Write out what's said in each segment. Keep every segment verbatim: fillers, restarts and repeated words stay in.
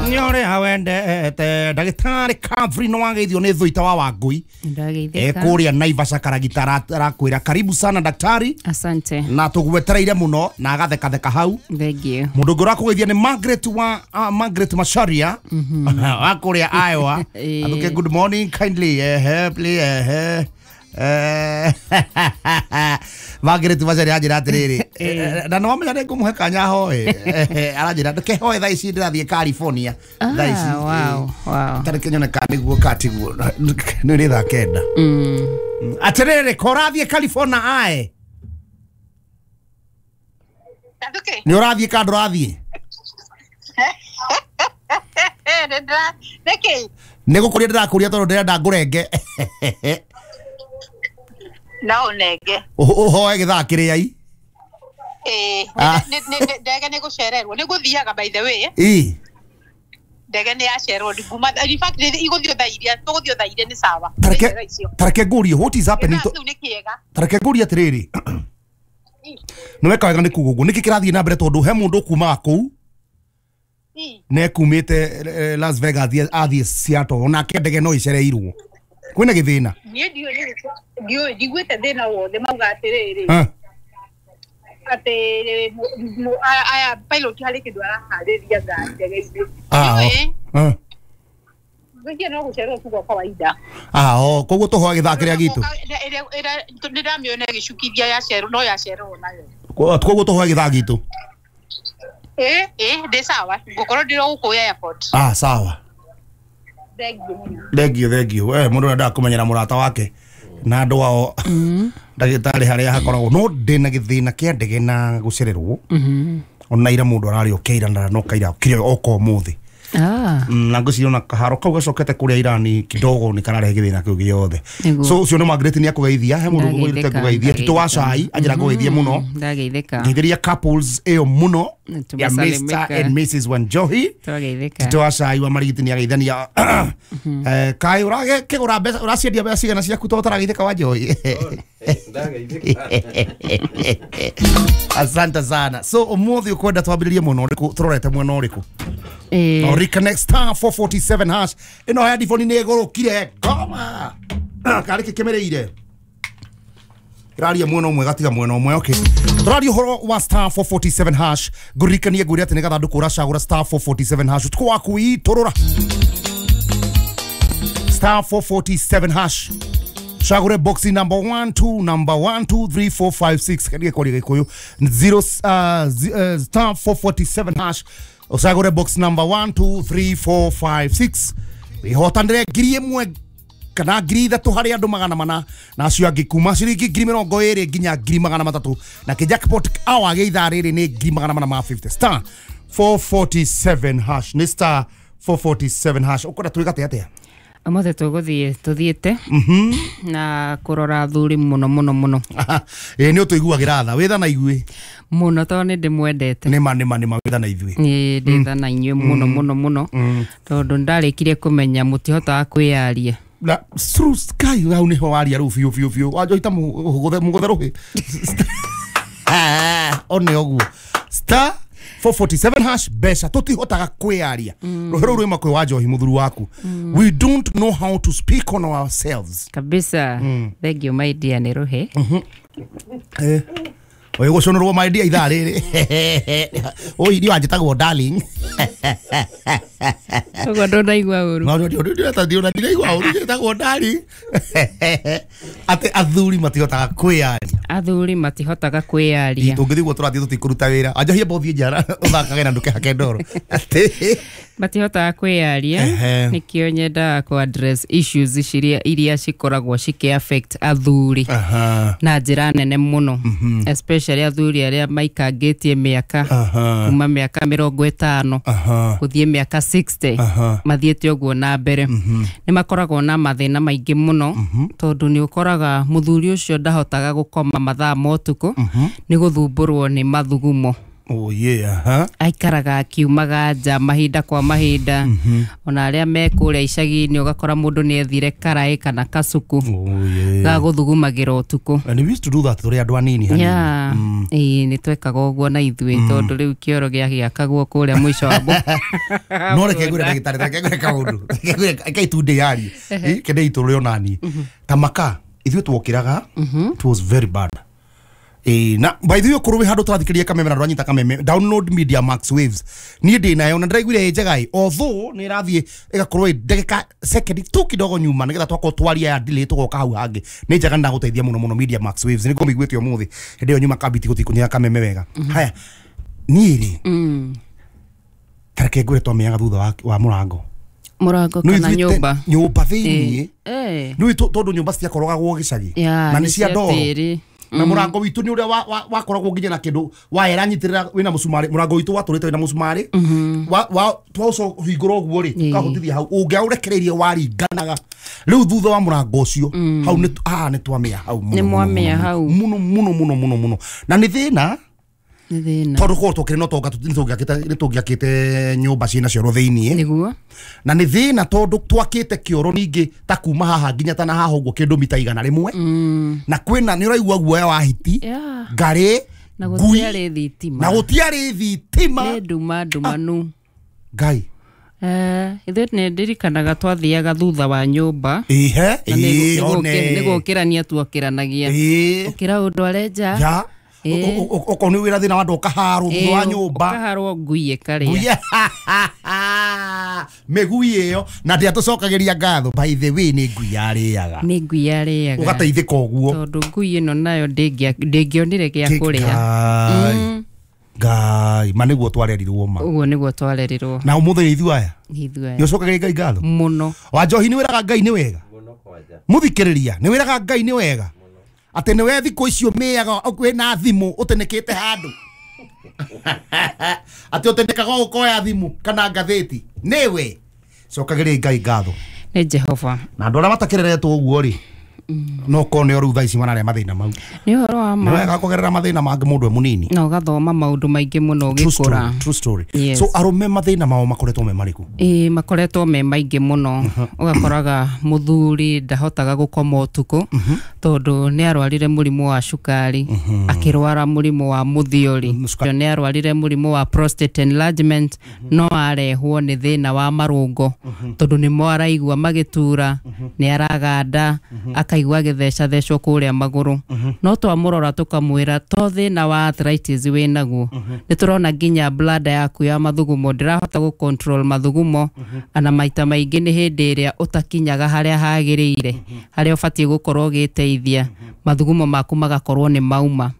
Nyore wendete ndagĩtarĩ Calvin no wageithio nĩ Thuita wa Wangui. Ndageithĩka. Kũrĩa Naivasha Karagita arakwĩra karibu sana daktari. Asante. Na tũgwetereire mũno na agathekatheka hau. Thank you. Mũndũ ũngĩ ũrakũgeithia nĩ Margaret wa uh, Margaret Macharia wa kũrĩa Iowa. Athuke good morning kindly eh please eh eh Margaret Macharia anjĩra atĩrĩrĩ na no amenya nĩngũmũhe kanya hoe aranjĩra ndũkehoe thaa ici ndĩrathiĩ California thaa ici. Wow, wow. Tareke nyone kana nĩguo katiguo nĩ rĩ thaa kenda. Atĩrĩrĩ ko ũrathiĩ California ae nĩ ũrathiĩ kana ndũrathiĩ? Nĩ gũkũria ndĩrakũria tondũ ndĩrenda ngũrenge. No nege. Ũhoe gĩthaa kĩrĩa i? Ĩĩ, ndege nĩ gũcererwo nĩ gũthiaga by the way. Ĩĩ. Ndege nĩ yacererwo nguma in fact igũthiĩ thaa iria tũgũthiĩ thaa iria nĩ sawa. Tareke tareke ngũrie what is happening? Tareke ngũrie atĩrĩrĩ. Nĩ weka wega nĩ kuga ũguo nĩkĩ kĩrathiĩ na mbere tondũ he mũndũ ũkumaga kũu na ekumĩte Las Vegas athiĩ Seattle onake ndege no ĩcereirwo. Kwĩna gĩthĩna? Niĩ ndiũĩ ndiũĩ ndiguĩte thĩna wothe mauga atĩrĩrĩ atĩ aya pilot harĩ kĩndũ araharĩria ngari ndege-inĩ. Ah. Ngwĩciria no gũcererwo tu gwa kawaida. Ah, oh, koguo tũhoe gĩthaa kĩrĩa gitũ. Nĩndamĩona ĩgĩcukithia yacererwo no yacererwo nayo. Koguo tũhoe gĩthaa gitũ. Ĩĩ, ĩĩ, ndĩ sawa ngũkorwo ndĩ o gũkũ airport. Ah, sawa. Thank you, thank you. Eh, mũndũ endaga kũmenyera mũrata wake na andũ ao ndagĩtarĩ harĩa hakoragwo no ndĩna gĩthĩna kĩa ndege na gũcererwo. Ona ira mũndũ ararĩ okeira na no kaira okire oka ũmũthĩ. Ah. Na ngwĩciria ona kaharo kau gacokete kũrĩa Irani kidogo nĩ kararehe gĩthĩna kĩu gĩothe. So ũcio nĩ Margaret nĩ akũgeithia he mũndũ ũgũgĩte kũgeithia Tito wa Cai anjĩra ngũgeithie mũno. Ndageithĩka. Ngeithĩria couples ĩyo mũno ya Mister and Missus Wanjohi. Twageithĩka. Tito wa Cai wa Marigiti nĩ ageithania. Eh kai ũragĩkĩgũra mbeca ũraciendia mbeca cigana ciaku tondũ ũtarageithĩka Wanjohi? Asante sana. So ũmũthĩ ũkwenda twambĩrĩrie mwena ũrĩkũ tũrorete mwena ũrĩkũ? Eh. Reconnect star four forty-seven hash. Ĩno headphone nĩ ĩgũrũkire ngoma. Karĩ kĩ kĩmĩrĩire? Ĩraria mwena ũmwe gatiga mwena ũmwe. Okay. Tũraria ũhoro wa star four forty-seven hash. Ngũririkanie ngwĩre atĩ nĩ gathandũkũ ũracagũra star four forty-seven hash. Ũtukũ waku itũrũra. Star four forty-seven hash. Cagũre box number one two number one two three four five six. Kadi kwaria Gĩkũyũ zero uh, star four forty-seven hash. Ũcagũre box number one two three four five six. Wĩhotanĩre ngiri ĩmwe kana ngiri ithatũ harĩ andũ magana mana na acio angĩ kuma ciringi ngiri mĩrongo ĩrĩ nginya ngiri magana matatũ na kĩ jackpot hour gĩa ithaa rĩrĩ nĩ ngiri magana mana ma fifty. Star four forty-seven hash nĩ star four forty-seven hash. Ũkwenda twĩgate atĩa? Ũmũthĩ tũgũthiĩ tũthiĩte na kũrora athuri mũno mũno mũno. Ĩĩ nĩ ũtũiguagĩra tha wĩtha na ithuĩ mũno tondũ nĩ ndĩmwendete. Nĩma nĩma nĩma wĩtha na ithuĩ. Ĩĩ ndĩ tha na inyuĩ mũno mũno mũno tondũ ndarĩkirie kũmenya mũtihotaga kwĩyaria. Na through sky hau nĩho waria rĩu biũ biũ biũ Wanjohi ta mũgũthe rũhĩ. One ũguo star four forty-seven hash mbeca tũtihotaga kwĩyaria. Rũhĩ rũu rwĩma kwĩ Wanjohi mũthuri waku. We don't know how to speak on ourselves. Kabisa. Thank you my dear nĩ rũhĩ. Eh. Oyo gũcũnũrwo my dear ithaa rĩrĩ. Oi niĩ wanjĩtagwo darling. Ũguo ndũnaigua ũru. No ndiraigua ũru njĩtagwo darling. Atĩ athuri matihotaga kwĩyaria. Athuri matihotaga kwĩyaria. Tũngĩthiĩ ũguo tũrathiĩ tũtikũruta wĩra. Wanjohi amba ũthiĩ nja ũthakage na ndũkehake ndoro. Atĩ matihotaga kwĩyaria nĩkĩo nyendaga kũ address issues ciria iria cikoragwo cikĩ affect athuri na njĩra nene mũno especially athuri arĩa maikangĩtie mĩaka kuma mĩaka mĩrongo ĩtano gũthiĩ mĩaka sixty mathiĩte ũguo na mbere. Nĩ makoragwo na mathĩna maingĩ mũno tondũ nĩ ũkoraga mũthuri ũcio ndahotaga gũkoma mathaa ma ũtukũ nĩ gũthumbũrwo nĩ mathugumo. Oh yeah, huh? Aikaraga akiumaga nja mahinda kwa mahinda. Mm -hmm. Ona aria me kuria icagi-inĩ ũgakora mũndũ nĩ ethire karaĩ kana kasuku. Oh yeah. Ga gũthugumagĩra ũtukũ. And we used to do that tũrĩ andũ anini hanini. Yeah. Mm. Ĩĩ nĩ twekaga ũguo na ithuĩ mm. tondũ rĩu kĩoro gĩakagwo kũrĩa mũico wa mbũ. No reke ngwĩre ndagĩtarĩ, reke ngwĩre kaũndũ. Reke ngwĩre reke itunde yarie. Ĩ kende itũrĩ onani. Ta maka ithuĩ tuokĩraga. It was very bad. Eh, na by the way korwo handu turathikiriria kameme na ndwanyita kameme download Media Max Waves nie ndi nayo na ndiraiguire njega i although ni irathie igakorwo ndagika second tu kidogo nyuma nigetha twakorwo twaria ya delay tugoka hau hangi ni njega na guteithia muno muno Media Max Waves ni ngomiguite umuthi hindi yo nyuma kabiti gutikunyira kameme wega. Haya ni ri tareke ngure twamiaga thutha wa murango murango kana nyumba nyumba thiini eh ni tondu nyumba ciakorogagwo gicagi na ni cia ndoro na murango witu ni uria wakoragwo nginya na kindu waera nyitirira wina mucumari murango witu waturite wina mucumari wa wa twaco hingura uguo ri tukahutithia hau ungiaurekereirie waringanaga riu thutha wa murango ucio hau ni ah ni twamia hau ni mwamia hau muno muno muno muno muno na ni thina ni thina tondu korwo tukiri no tonga ni tungiakite nyumba ciina cioro thiini niguo na ni thina tondu twakite kioro ningi ta kuma haha nginya ta na haha uguo kindu mita igana rimwe na kwina ni uraigua guoya wa hiti ngari na gutiari thitima na gutiari thitima ni nduma ndumanu ngai. Eh, ithuĩ nĩ ndirikanaga twathiaga thutha wa nyũmba. Ihe, ĩĩ, one. Nĩ gũkĩrania tuokĩranagia. Ũkĩra ũndũ arenja. Okorwo nĩ wĩra thĩna wa andũ ũkaharwo thutha wa nyũmba. Ũkaharwo ngui ĩkarĩa. Mĩgui ĩyo na ndĩatũcokagĩria ngatho by the way nĩ ngui yarĩaga. Nĩ ngui yarĩaga. Ũgateithĩka ũguo. Tondũ ngui ĩno nayo ndĩngĩonire gĩa kũrĩa. Ngai ma nĩguo twarerirwo ma. Ũguo nĩguo twarerirwo. Na ũmũthĩ nĩ ithuĩ aya. Nĩ ithuĩ aya. Nĩ ũcokagĩria Ngai ngatho? Mũno. Wa njohi nĩ wĩraga Ngai nĩ wega? Mũno kwanja. Mũthikĩrĩria nĩ wĩraga Ngai nĩ wega? Ate nĩ we thikũ icio mĩaga wĩna thimũ ũtenekĩte handũ. Ate ũtenekaga ũkoya thimũ kana ngathĩti nĩwe. Cokagĩria Ngai ngatho. Nĩ Jehova. Na andũ arĩa matakĩreretwo ũguo rĩ no korwo nĩ rĩu thaa ici mararĩa mathĩna mau. Nĩ ũhoro wa ma. Nĩ wega kũgerera mathĩna mangĩ mũndũ e mũnini. Na ũgathoma maũndũ maingĩ mũno ũgĩkũra. True story. So arũme mathĩna mao makoretwo me marĩkũ? Ĩĩ makoretwo me maingĩ mũno. Ũgakoraga mũthuri ndahotaga gũkoma ũtukũ tondũ nĩ arwarire mũrimũ wa cukari, akĩrwara mũrimũ wa mũthiori, nĩ arwarire mũrimũ wa prostate enlargement, no arehwo nĩ thĩna wa marũngo tondũ nĩmo araigua magĩtura, nĩ araganda, akaigua agĩthecathecwo kũrĩa magũrũ. No twamũrora tũkamwĩra to thĩna wa arthritis wĩnaguo, nĩ tũrona nginya bladder yaku ya mathugumo ndĩrahota gũ control mathugumo, ana maita maingĩ nĩ hĩndĩ ĩrĩa ũtakinyaga harĩa hagĩrĩire, harĩa ũbatiĩ gũkorwo ũgĩteithia mathugumo maku magakorwo nĩ mauma.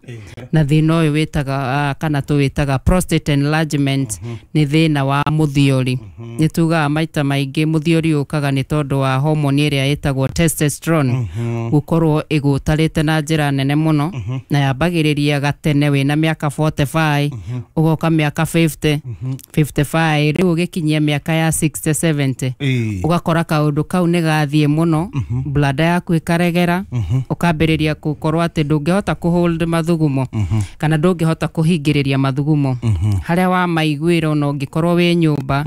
Na thĩna ũyũ wĩtaga kana tũwĩtaga prostate enlargement nĩ thĩna wa mũthiori. Nĩ tugaga maita maingĩ mũthiori ũkaga nĩ tondũ wa hormone ĩrĩa ĩtagwo testosterone gũkorwo ĩgũtarĩte na njĩra nene mũno, na yambagĩrĩria gatene wĩna mĩaka forty-five ũgoka mĩaka fifty, fifty-five rĩu ũgĩkinyia mĩaka ya sixty, seventy ũgakora kaũndũ kau nĩ gathiĩ mũno, bladder yaku ĩkaregera, ũkambĩrĩria gũkorwo atĩ ndũngĩhota kũ hold mathugumo kana ndũngĩhota kũhingĩrĩria mathugumo harĩa wamaiguĩra ona ũngĩkorwo wĩ nyũmba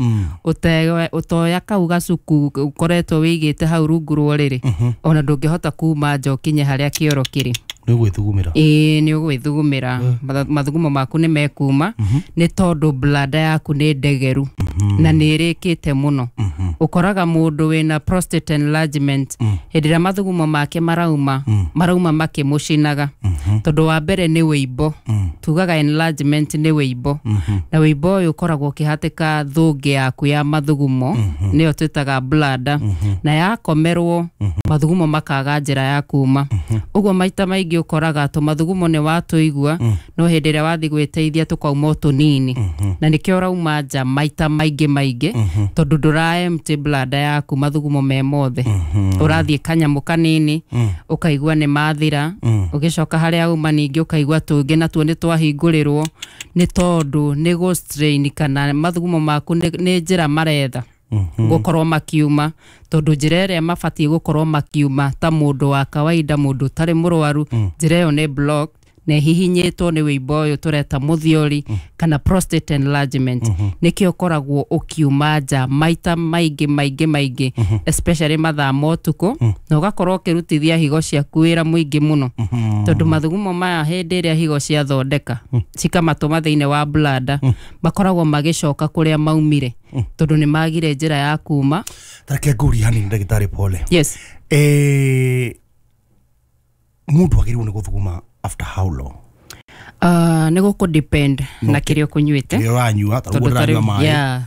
ũtoya kau gacuku ũkoretwo wĩigĩte hau rungu rwa ũrĩrĩ ona ndũngĩhota kuma nja ũkinye harĩa kĩoro kĩrĩ. Nĩ ũgwĩthugumĩra. Ĩĩ nĩ ũgwĩthugumĩra. Mathugumo maku nĩ mekuma nĩ tondũ bladder yaku nĩ ndegeru na nĩ ĩrĩkĩte mũno. Ũkoraga mũndũ wĩna prostate enlargement hĩndĩ ĩrĩa mathugumo make marauma marauma makĩmũcinaga tondũ wa mbere nĩ wĩimbo. Tugaga enlargement nĩ wĩimbo, na wĩimbo ũyũ ũkoragwo ũkĩhatĩka thũngĩ yaku ya mathugumo nĩyo twĩtaga bladder, na yakomerwo mathugumo makaga njĩra ya kuma. Ũguo maita maingĩ ũkoraga tũmathugumo nĩ watũigua no hĩndĩ ĩrĩa wathiĩ gwĩteithia tũkauma o tũnini, na nĩkĩo ũrauma nja maita maingĩ maingĩ tondũ ndũra empty bladder yaku mathugumo me mothe. Ũrathiĩ kanyamũ kanini ũkaigua nĩ mathira, ũgĩcoka harĩa uma ningĩ ũkaigua tũngĩ natuo nĩ twahingũrĩrwo nĩ tondũ nĩ gũ strain kana mathugumo maku nĩ njĩra maretha gũkorwo makiuma, tondũ njĩra ĩrĩa mabatiĩ gũkorwo makiuma ta mũndũ wa kawaida, mũndũ ũtarĩ mũrwaru, njĩra ĩyo nĩ block Na ĩhihinyĩtwo nĩ wĩimbo ũyũ tũreta mũthiori kana prostate enlargement, nĩkĩo ũkoragwo ũkiuma nja maita maingĩ maingĩ maingĩ, especially mathaa ma ũtukũ, na ũgakorwo ũkĩrutithia higo ciaku wĩra mũingĩ mũno, tondũ mathugumo maya hĩndĩ ĩrĩa higo ciathondeka cikamatũma thĩinĩ wa bladder, makoragwo magĩcoka kũrĩa maumire, tondũ nĩ magire njĩra ya kuma. Tareke ngũrie hanini, ndagĩtarĩ, pole. Yes. Eh, mũndũ agĩrĩirwo nĩ gũthuguma after how long? uh, nĩ gũkũ depend na kĩrĩa ũkũnyuĩte. Kĩrĩa ũranyua, ta ũguo Tondũ ta ndĩranyua rĩu- maĩ. Yeah.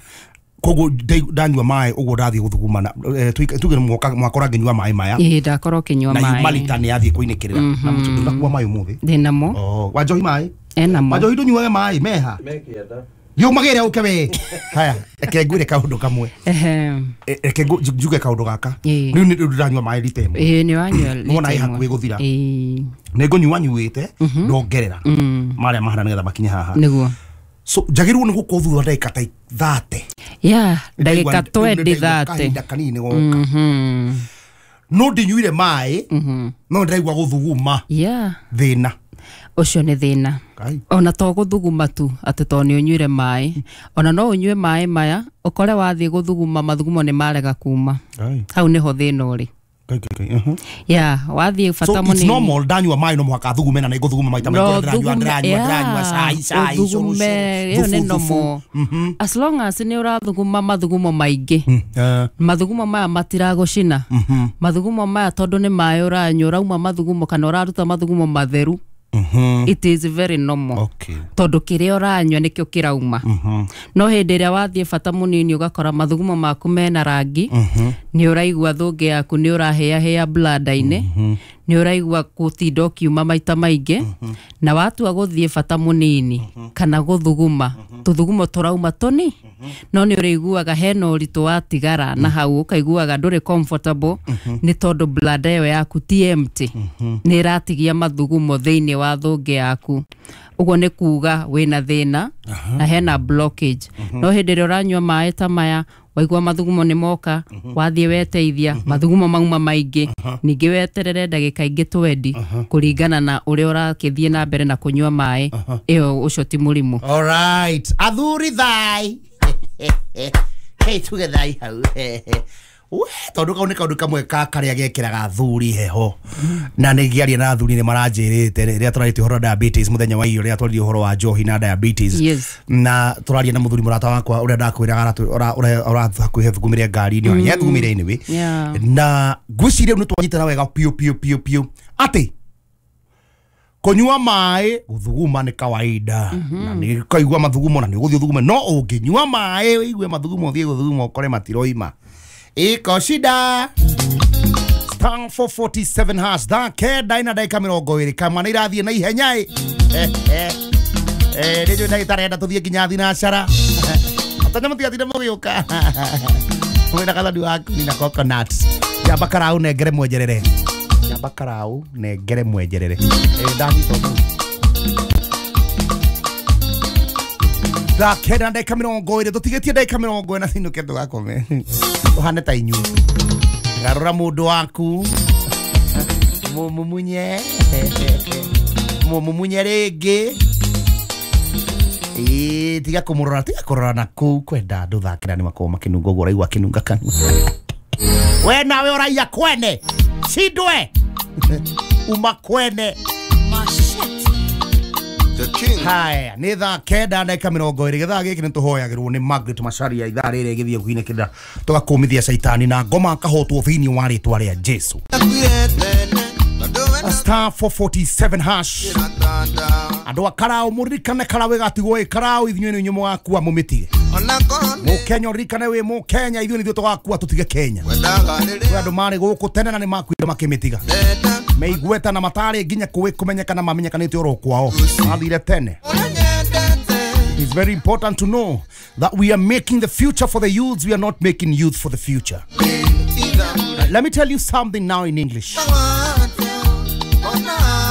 Koguo ndai- ndanyua maĩ ũguo ndathiĩ gũthuguma na eh, tuike- tuge mwaka mwakora ngĩnyua maĩ maya Ĩĩ, ndakorwo ũkĩnyua na maĩ yuma lita nĩ yathiĩ kũinĩkĩrĩra na mũtũ ndũnakuua maĩ ũmũthĩ. Ndĩnamo. Oh, wanjohi maĩ? Enamo. Wanjohi, ndũnyuage maĩ meha? Thiĩ ũmagĩre ũke we. Haya, reke ngwĩre kaũndũ kamwe. Ehe. Eh, reke ngũ- njuge kaũndũ gaka. Ĩĩ. Rĩu nĩ ndĩranyua maĩ rita ĩmwe. Ĩĩ, nĩ wanyua Nĩwona lita ĩ ĩmwe. hakuhĩ gũthira. Ĩĩ. Nĩ ngũnyua nyuĩte ndongerera marĩa mahana nĩgetha makinye haha. Nĩguo. So njagĩrĩirwo nĩ gũkorwo thutha wa ndagĩka ta thate? Ya, ndagĩka twendi thate. Kahinda kanini goka no ndinyuire maĩ, no ndĩraigua gũthuguma. Ya. Thĩna. Ũcio nĩ thĩna. Kai. Ona to gũthuguma tu atĩ to nĩ ũnyuire maĩ, ona no ũnyue maĩ maya ũkore wathiĩ gũthuguma mathugumo nĩ marega kuma. Kai. Hau nĩho thĩna ũrĩ. Kai, kai, kai. Uh-huh. Ya, wathiĩ So bata it's mũnini. normal ndanyua maĩ no mũhaka thugume, na nĩ ngũthuguma maita maingĩ No ũrĩa ndĩranyua thugume, ndĩranyua ndĩranyua yeah, cai cai cũrũ, ũthugume, cũrũ, ĩyo nĩ thubu, thubu. normal as long as nĩ ũrathuguma mathugumo maingĩ. Eh, Mathugumo maya matiragũcina, mathugumo maya tondũ nĩ maĩ ũranyua, ũrauma mathugumo kana ũraruta mathugumo matheru, mhm. it is very normal, Okay. tondũ kĩrĩa ũranyua nĩkĩo kĩrauma. No hĩndĩ ĩrĩa wathiĩ bata mũnini ũgakora mathugumo maku mena rangi, nĩ ũraigua thũngĩ yaku nĩ ũrahĩahĩa bladder-inĩ, nĩ ũraigua gũtinda ũkiuma maita maingĩ, na watua gũthiĩ bata mũnini kana gũthuguma tũthugumo tũrauma tũni, no nĩ ũrĩiguaga hena ũritũ watigara na hau, ũkaiguaga ndũrĩ comfortable, nĩ tondũ bladder ĩyo yaku ti empty, nĩ ĩratigia mathugumo thĩinĩ wa thũngĩ yaku. Ũguo nĩ kuga wĩna thĩna na hena blockage. No hĩndĩ ĩrĩa ũranyua maĩ ta maya, waigua mathugumo nĩ moka, wathiĩ weteithia mathugumo mauma maingĩ, ningĩ weterere ndagĩka ingĩ twendi kũringana na ũrĩa ũrakĩthiĩ na mbere na kũnyua maĩ, ĩyo ũcio ti mũrimũ. Alright. Athuri thai. Hey, tuge thai hau. We, tondũ kau nĩ kaũndũ kamwe ka karĩa gekĩraga athuri heho, na nĩ ngĩaria na athuri nĩ maranjĩrĩte rĩrĩa tũrarĩtie ũhoro wa diabetes mũthenya wa iyo, rĩrĩa twaririe ũhoro wa njohi na diabetes. Yes. Na tũraria na mũthuri mũrata wakwa ũrĩa ndakwĩraga ũrĩa thugumĩre ngari-inĩ, ona nĩathugumĩre anyway. Yeah. Na ngwĩciria rĩu nĩ twanyitana wega piũ piũ piũ piũ atĩ kũnyua maĩ gũthuguma nĩ kawaida, na nĩ kaigua mathugumo na nĩ ũgũthiĩ ũthugume, no ũngĩnyua maĩ ũigue mathugumo ũthiĩ gũthuguma ũkore matiroima, iko shida. Star four forty-seven hash, thaa kenda ina ndagĩka mĩrongo ĩrĩ, kama nĩ irathiĩ na ihenya ĩ. Nĩ njũĩ ndagĩtarĩ enda tũthiĩ nginya thinacara, atanya mũtigatinde mũgĩũka wĩna gathani waku na coconut. Njamba karau nengere mwenjerere, njamba karau nengere mwenjerere. Eh, ndanyita ũguo. Thaa kenda na ndagĩka mĩrongo ĩrĩ, tũtigĩtie ndagĩka mĩrongo ĩna cinũke tũgakome tũhane ta inyuĩ. Garũra mũndũ waku, mũmumunye, mũmumunye rĩngĩ. Ĩĩ, tiga kũmũrora, tiga kũrora na kũu kwenda andũ thaa kenda nĩ makoragwo makĩnunga ũguo, ũraigua akĩnunga kanua. We nawe ũraiya kwene cindwe uma kwene. Haya, nĩ thaa kenda ndagĩka mĩrongo ĩrĩ. Gĩthaa gĩkĩ nĩ tũhoyagĩrwo nĩ Margaret Macharia. Ithaa rĩrĩ gĩthiĩ gwinĩkĩrĩra, tũgakũmithia caitani na ngoma akahotwo thĩinĩ wa rĩtwa rĩa Jesu. Star four forty-seven hash. Andũ a karau, mũririkane karau ĩgatigwo ĩ karau, ithuĩ nĩ inyuĩ mũgakua mũmĩtige. Mũkenya, ũririkane wĩ mũkenya, ithuĩ nĩithuĩ tũgakua tũtige Kenya. Kwĩ andũ marĩ gũkũ tene na nĩ makuire makĩmĩtiga meigueta na matarĩ nginya kũĩ kũmenyekana, mamenyekanĩte oro kwao, mathire tene. It is very important to know that we are making the future for the youths. We are not making youth for the future. Uh, Let me tell you something now in English.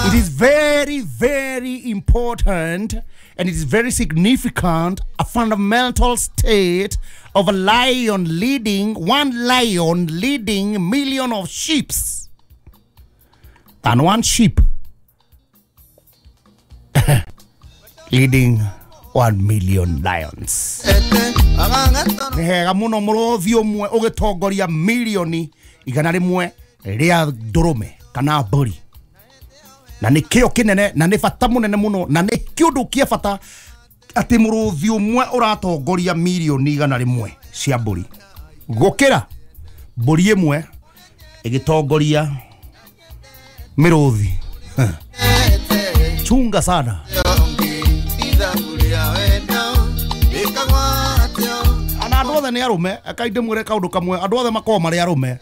It is very, very important and it is very significant, a fundamental state of a lion leading, one lion leading million of sheep than one sheep Leading one million lions. Nĩ hega mũno mũrũthi ũmwe ũgĩtongoria milioni igana rĩmwe rĩa ndũrũme kana mbũri. Na nĩ kĩo kĩnene na nĩ bata mũnene mũno na nĩ kĩũndũ kĩa bata atĩ mũrũthi ũmwe ũratongoria milioni igana rĩmwe cia mbũri gũkĩra mbũri ĩmwe ĩgĩtongoria mĩrũthi. Chunga sana. Ana andũ othe nĩ arũme, akainde mwĩre kaũndũ kamwe, andũ othe makoragwo marĩ arũme.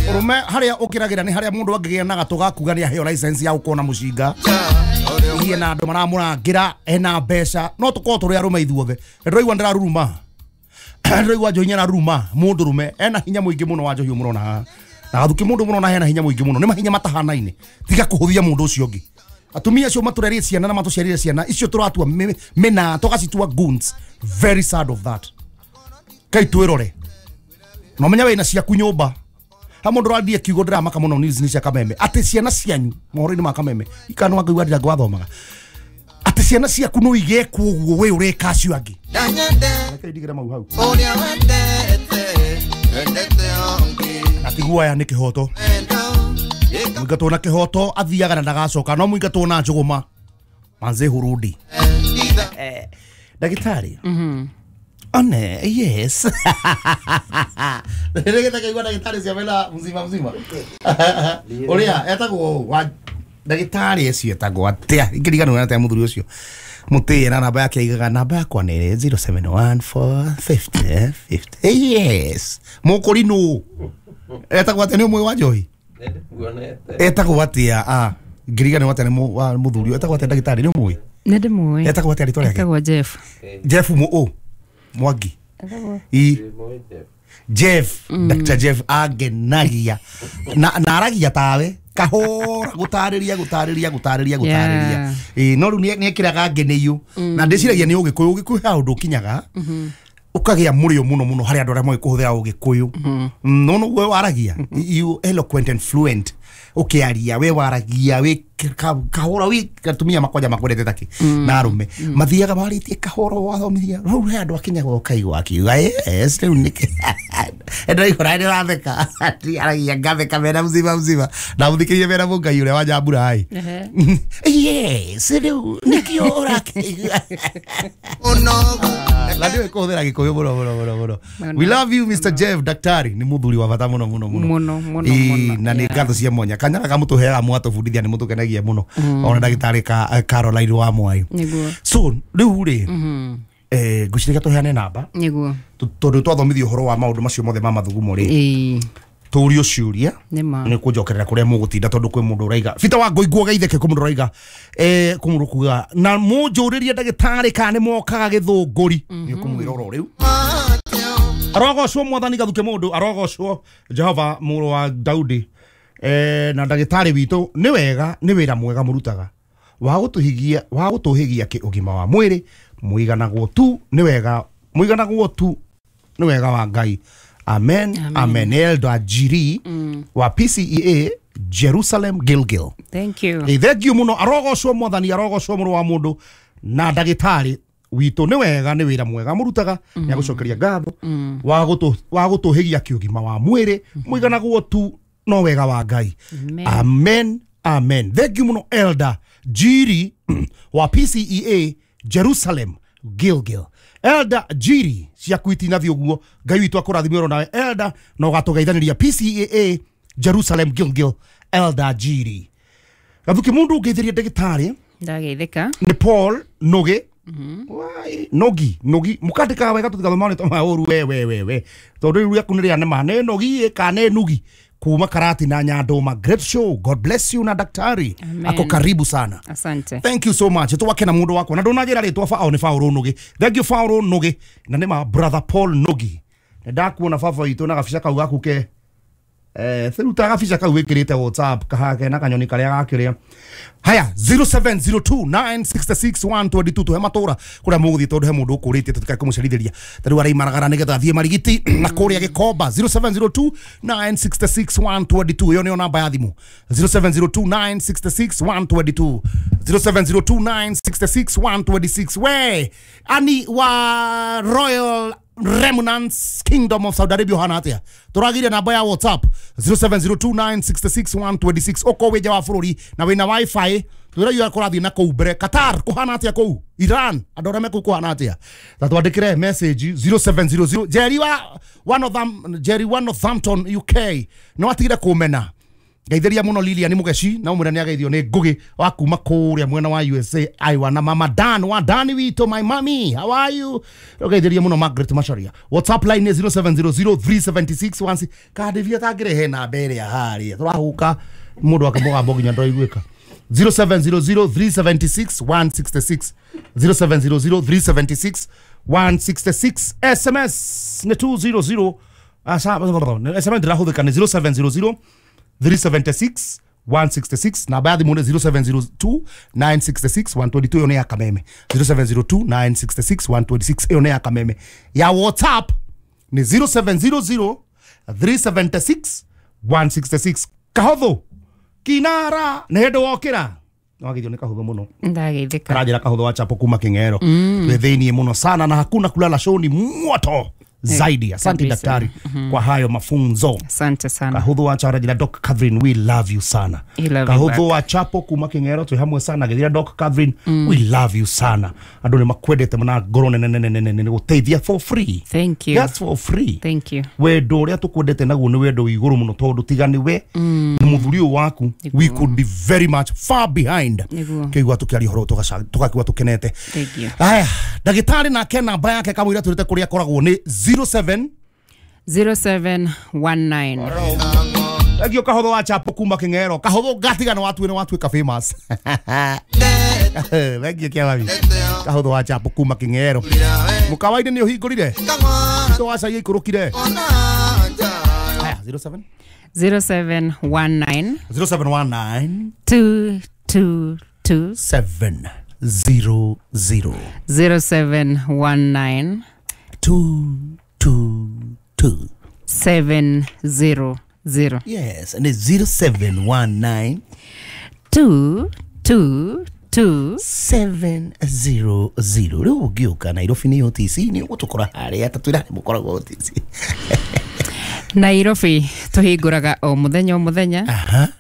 Ũrũme harĩa ũkĩragĩra nĩ harĩa mũndũ angĩgĩa na gatũ ga kuga nĩ aheo license ya gũkorwo na mũcinga. Iye na andũ maramũrangĩra ena mbeca, no tũkorwo tũrĩ arũme ithuothe. Ndĩraigua ndĩraruruma. Ndĩraigua njohi nĩararuruma, mũndũ rũme ena hinya mũingĩ mũno wa njohi mũrona haha. Na gathuki mũndũ mũrona hena hinya mũingĩ mũno, nĩ mahinya matahanaine. Tiga kũhũthia mũndũ ũcio ũngĩ. Atumia acio matũrerie ciana na matũciarire ciana icio tũratua mĩna tũgacitua goons. Very sad of that. Kai twĩrore. Na ũmenye wĩna ciaku nyũmba. Ha mũndũ ũrandie kiugo ndĩramaka mũno news nĩ cia Kameme. Atĩ ciana cianyu mohoro-inĩ ma Kameme ikanwa ngaigua ndĩra ngwathomaga. Atĩ ciana ciaku no igekwo ũguo we ũreka acio angĩ. Reke ndigĩre mau hau. Na tiguo aya nĩ kĩhoto. Mũingatwo na kĩhoto athiaga na ndagacoka, no mũingatwo na njũgũma manze hurudi. Eh, ndagĩtarĩ. Mhm. One, yes. Nĩgetha kaigua ndagĩtarĩ cia mena mzima mzima. Ũrĩa etagwo wa ndagĩtarĩ ũcio etagwo atĩa? Ingĩriganĩrwo atĩa mũthuri ũcio. Mũtĩe na namba yake aigaga namba yakwa nĩ zero seven one four fifty fifty. Yes. Mũkũri nũ? Etagwo atĩa nĩ ũmwe wa njohi? Etagwo atĩa? Ah, ngĩriganĩrwo atĩa nĩ mũthuri etagwo atĩa ndagĩtarĩ nĩ ũmũĩ? Nĩ ndĩmũĩ. Etagwo atĩa rĩtwa rĩake? Etagwo Jeff. Jeff mũ ũ? Mwangi. I Jeff, mm. Doctor Jeff agenagia na na aragia tawe kahora gutariria gutariria gutariria gutariria. Eh, no riu ni ekiraga ngeneiyo na ndiciragia ni ugikuyu ugikuyu ha undu kinyaga ukagia murio muno muno hari andu aria moĩ kuhuthira ugikuyu. No no we waragia you eloquent and fluent ukiaria we waragia we kahora wi atumia makwanja makwendete taki na arume mathiaga maritie kahora wathomithia rĩu he andu akinyaga ukaigua akiuga yes rĩu nĩkĩ ndĩraigua ndĩratheka aragia ngatheka mena mzima mzima na mũthikĩrie mena mũngai ũrĩa wa Nyambura ai yes rĩu nĩkĩo ũrakĩigua na ndiũĩ kũhũthĩra gĩkũyũ mũno mũno mũno mũno. We love you Mister Jeff daktari nĩ mũthuri wa bata mũno mũno mũno mũno mũno mũno na nĩ ngatho cia mwanya kanyara kamũtũheaga mwatũbundithia nĩ mũtũkenagia mũno ona ndagĩtarĩ ka Caroline wa Mwai. So rĩu rĩ eh ngwĩciria tũheane namba nĩguo tondũ twathomithio ũhoro wa maũndũ macio mothe ma mathugumo rĩ tũrio ciũria nĩ kũnjokerera kũrĩa mũgũtinda tondũ kwĩ mũndũ ũraiga Peter wa Ngũi geitheke kwĩ mũndũ ũraiga eh kwĩ mũndũ kuga na mũnjũrĩrie ndagĩtarĩ kana nĩ mokaga gĩthũngũri nĩ ũkũmwĩra oro rĩu. Arogocwo mwathani gathuke mũndũ arogocwo Jehova mũrũ wa Daudi eh na ndagĩtarĩ witũ nĩ wega nĩ wĩra mwega mũrutaga wa gũtũhigia wa gũtũhigia kĩ ũgima wa mwĩrĩ mũiganagwo tu nĩ wega mũiganagwo tu nĩ wega wa Ngai. Amen. Amen. Amen. Elda Jiri mm. wa P C E A Jerusalem Gilgil. Thank you. Hey, thank you muno arogocwo mwathani arogocwo mũrũ wa mũndũ na ndagĩtarĩ witũ nĩ wega nĩ wĩra mwega mũrutaga nĩ agũcokeria ngatho wa gũtũ wa gũtũhĩgia kĩũgima wa mwĩrĩ mũiganagwo tu no wega wa Ngai. Amen. Amen. Thank you muno Elda Jiri wa P C E A Jerusalem Gilgil. Elda Jiri ciaku itinathi ũguo Ngai witũ akũrathime oro nawe Elda na ũgatũgeithaniria P C A A Jerusalem Gilgil Elda Jiri. Gathuki mũndũ ũngeithĩria ndagĩtarĩ ndageithĩka nĩ Paul Nogi. Wai Nogi Nogi mũkandĩkaga wega tũtigathoma marĩtwa ma ũru we we we we tondũ rĩu rĩaku nĩ rĩa nĩma nĩ Nogi kana nĩ Nugi kuma Karati na Nyandoma. Great show, God bless you na daktari. Amen. Ako karibu sana. Asante. Thank you so much. Twakena mundu wakwa na ndunajira ritwa fa au ni Fauro Nugi. Thank you Fauro Nugi na ni ma brother Paul Nugi. Ndakuona baba witũ na gabica kau gaku ke Eh ruta gabica kau wikirite WhatsApp kahake na kanyoni karia gakiria. Haya zero seven zero two nine six six one two two tuhe matura kuria muguthie tondu he mundu ukuritie tutikae kumucerithĩria tariu araimaragara nigetha athie Marigiti na kuria Gikomba. Zero seven zero two nine six six one two two iyo niyo namba ya thimu. Zero seven zero two nine six six one two two zero seven zero two nine six six one two six. We ani wa Royal Remnants Kingdom of Saudi Arabia hana atia turagiria namba ya WhatsApp zero seven zero two nine six six one two six oko wija wa bururi na wina wifi twira yu kurathi na kuu mbere Qatar kuhana atia kuu Iran andu aria meku kuhana atia ta twandikire message zero seven zero zero Jerry wa one of them Jerry wa Northampton U K no atigire kumena ngeithĩria muno Lilian Mugeci na umwira nĩageithio nĩ Ngugi wa kuma kũrĩa mwena wa U S A aiwa na mama Dan wa Dani witũ my mommy how are you ngeithĩria muno Margaret Macharia. WhatsApp line nĩ zero seven zero zero three seven six one six kandivia tangĩrehe namba ĩrĩa harĩa tũrahuka mũndũ akĩmũgambo nginya ndoiguĩka. Zero seven zero zero three seven six one six six zero seven zero zero three seven six one six six S M S nĩ two zero zero asa S M S ndĩrahũthĩka nĩ zero seven zero zero three seven six one six six na baadhi muone zero seven zero two nine six six one two two iyo ni ya Kameme. Zero seven zero two nine six six one two six iyo ni ya Kameme. Ya WhatsApp ni zero seven zero zero three seven six one six six. Kahotho kinara nĩ hĩndĩ wokĩra wagithio nĩ kahotho mũno ndageithĩka karanjĩra kahotho wa chapo kuma King'ero twĩ thĩiniĩ mũno sana na hakuna kulala shoni moto zaidi. Asante daktari mm -hmm. kwa hayo mafunzo. Asante sana. Kahuthu wa chapo Doc Catherine we love you sana. Kahuthu wa chapo kuma King'ero twi hamwe sana githira Doc Catherine mm. we love you sana. Andu ni makwendete muna ngoro nene nene nene nene guteithia for free. Thank you. That's for free. Thank you. Wendo uria tukwendete naguo ni wendo wi iguru muno tondu tiga ni we mm. muthuri uyu waku we could be very much far behind. Kigwa tukiaria horo tugakiwa tukenete. Thank you. Aya ndagitari nake namba yake kamwira turite kuria akoragwo ni zero seven zero seven one nine. Agio kahotho wa chapo kuma King'ero kahotho gatiga no watu no watuika famous. Wegio kia wabi kahotho wa chapo kuma King'ero mukawaini ni uhingurire to waca ikurukire. Aya zero seven zero seven one nine zero seven one nine two two two seven zero zero zero seven one nine two two two seven zero zero. Yes, and it's zero seven one nine two two two seven zero zero. Riu ũngĩũka Nairobi nĩ O T C nĩ ũgũtũkora harĩa ta twĩra mũkoragwo O T C. Nairobi tuhingũraga o muthenya o muthenya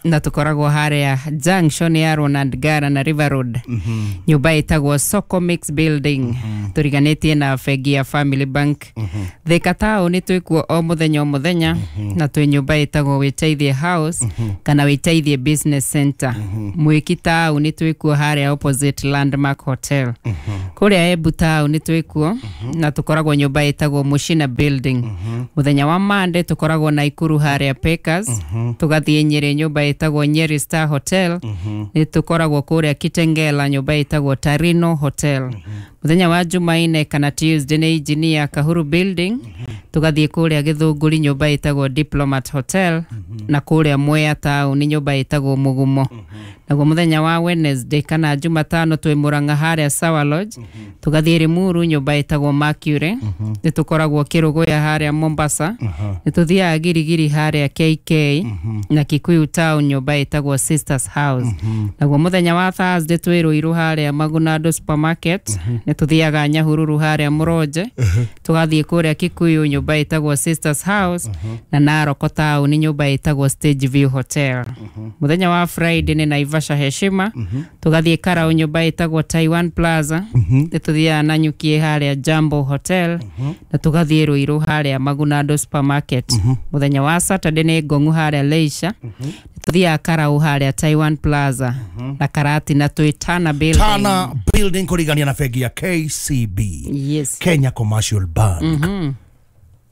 na tukoragwo haria junction ya Ronald Gara na River Road. Mm -hmm. Nyumba ĩtagwo Soko Mix Building. Mm -hmm. Turiganĩtie na bengi ya Family Bank. Mm -hmm. Thika taũni twĩkuo o muthenya o muthenya. Mm -hmm. Na twĩ nyumba ĩtagwo Wĩteithie House. Mm -hmm. Kana Wĩteithie Business Center. Mm -hmm. Mwĩki taũni twĩkuo haria opposite Landmark Hotel. Mm -hmm. Kũrĩa Embu taũni twĩkuo. Mm -hmm. Na tukoragwo nyumba ĩtagwo Mushina Building. Mm -hmm. Muthenya wa Monday tukoragwo Naikuru haria Packers. Mm -hmm. Tugathiĩ Nyeri nyumba ĩtagwo Nyeri Star Hotel. Mm -hmm. Nĩ tukoragwo kũrĩa Kitengela nyumba ĩtagwo Tarino Hotel. Mm -hmm. Muthenya wa Jumaine kana Tuesday nĩ Engineer Kahuru Building. Mm -hmm. Tugathiĩ kũrĩa Gĩthũngũri nyumba ĩtagwo Diplomat Hotel. Mm -hmm. Na kũrĩa Mwea taũni nyumba ĩtagwo Mugumo. Mm -hmm. Naguo muthenya wa Wednesday kana Jumatano twĩ Murang'a haria Sawa Lodge. Mm -hmm. Tugathiĩ Limuru nyumba ĩtagwo Mercury. Mm -hmm. Nĩ tukoragwo Kĩrũgũya haria Mombasa. Mm -hmm. Nĩ tuthiaga Girigiri haria K K. Mm -hmm. Na Kikuyu town nyumba ĩtagwo Sisters House. Mm -hmm. Naguo muthenya wa Thursday twĩ Ruiru haria Magunado Supermarket. Mm -hmm. Nĩ tuthiaga Nyahururu haria Mũronje. Mm -hmm. Tugathiĩ kũrĩa Kikuyu nyumba ĩtagwo Sisters House. Mm -hmm. Na Narok town nyumba ĩtagwo Stage View Hotel. Mm -hmm. Muthenya wa Friday nĩ Naivasha Heshima. Mm -hmm. Tugathiĩ Karau nyumba ĩtagwo Taiwan Plaza. Mm -hmm. Nĩ tuthiaga Nanyuki haria Jambo Hotel. Mm -hmm. Na tugathiĩ Ruiru haria Magunado Supermarket. Mm -hmm. Muthenya wa Saturday nĩ Ngong'u haria Leisure. Mm -hmm. Tuthiaga Karau haria Taiwan Plaza. Mm -hmm. Na Karati na twĩ Tana Building. Tana Building kũrigania na bengi ya K C B. Yes. Kenya Commercial Bank. Mm -hmm.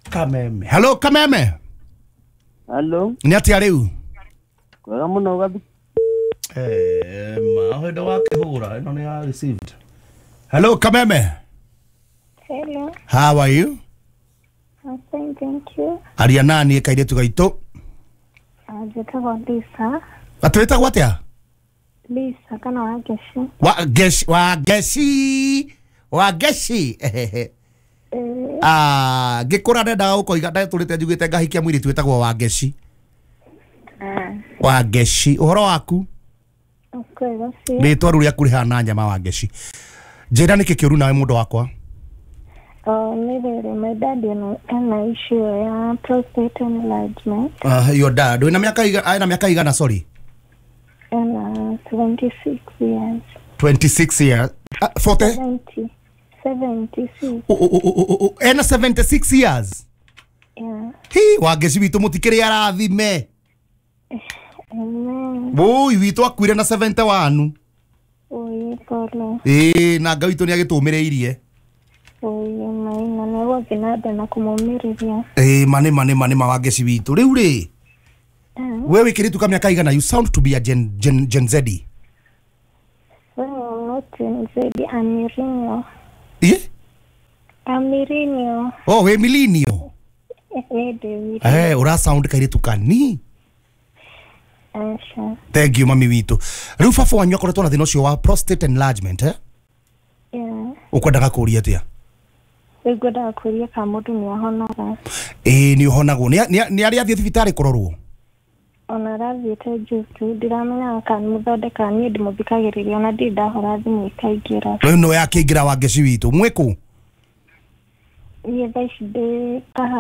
Kameme. Hello Kameme. Hello. Nĩ atĩa rĩu? Kwega mũno gathi. Eh, ma hĩndĩ wakĩhũra ĩno nĩ ya received. Hello Kameme. Hello. How are you? I'm fine, thank you. Aria nani kairĩtu gaitũ? Njĩtagwo Lisa. Atĩ wĩtagwo atĩa? Lisa kana Wangeci. Wa Ngeci, Wangeci, Wangeci. Eh, Ah, ngĩkũra ndendaga gũkoiga ndatũrĩte njugĩte ngahikia mũirĩtu wĩtagwo Wangeci. ah, Wangeci, ũhoro waku? Kwega biũ. Rĩtwa rĩu rĩaku rĩhana nyama Wangeci. Njĩra nĩkĩ kĩũru nawe mũndũ wakwa? Oh, nĩ rĩrĩ, my dad ena ena issue ya prostate enlargement. Uh, your dad wĩna mĩaka iga- ena mĩaka igana, sorry? Ena seventy-six years. twenty-six years. Uh, forty? seventy. seventy-six. O, o, o, o, o, ena seventy-six years. Yeah. Hi, Wangeci witũ mũtikĩrĩ arathime. Amen. Wũi witũ akuire na seventy-one. Oi, pole. Ĩĩ, na Ngai witũ nĩ agĩtũmĩrĩirie. Oi, maina nĩ gũthiĩ na mbere na kũmũmĩrĩria. Ĩĩ, ma nĩ ma nĩ ma nĩ ma Wangeci witũ. Rĩu rĩ, Ah, we wĩkĩrĩtu ka mĩaka igana, you sound to be a Gen, Gen, Gen Z. well, I'm not Gen Z, I'm millennial. Ĩ? I'm millennial. Oh, wĩ millennial. Eh, ndĩ millennial. Eh, ũra sound kairĩtu kani. Aca. Thank you mami witũ. Rĩu baba wanyu akoretwo na thĩna ũcio wa prostate enlargement, eh? Yeah. Ũkwendaga kũũria atĩa? Rĩu ngwendaga kũũria kana mũndũ nĩ ahonaga. Ĩĩ, nĩ ũhonagwo. Nĩ nĩ arĩ athiĩ thibitarĩ kũrorwo? Ona arathiĩte juzi, ndiramenyaga kana nĩ mũthondekaga, niĩ ndĩmũthikagĩrĩria ona ndirĩ ndahũra thimũ ĩkaingĩra. Rĩu no yakĩingĩra Wangeci witũ. Mwĩkũ? Niĩ thaa ici ndĩ Kahawa.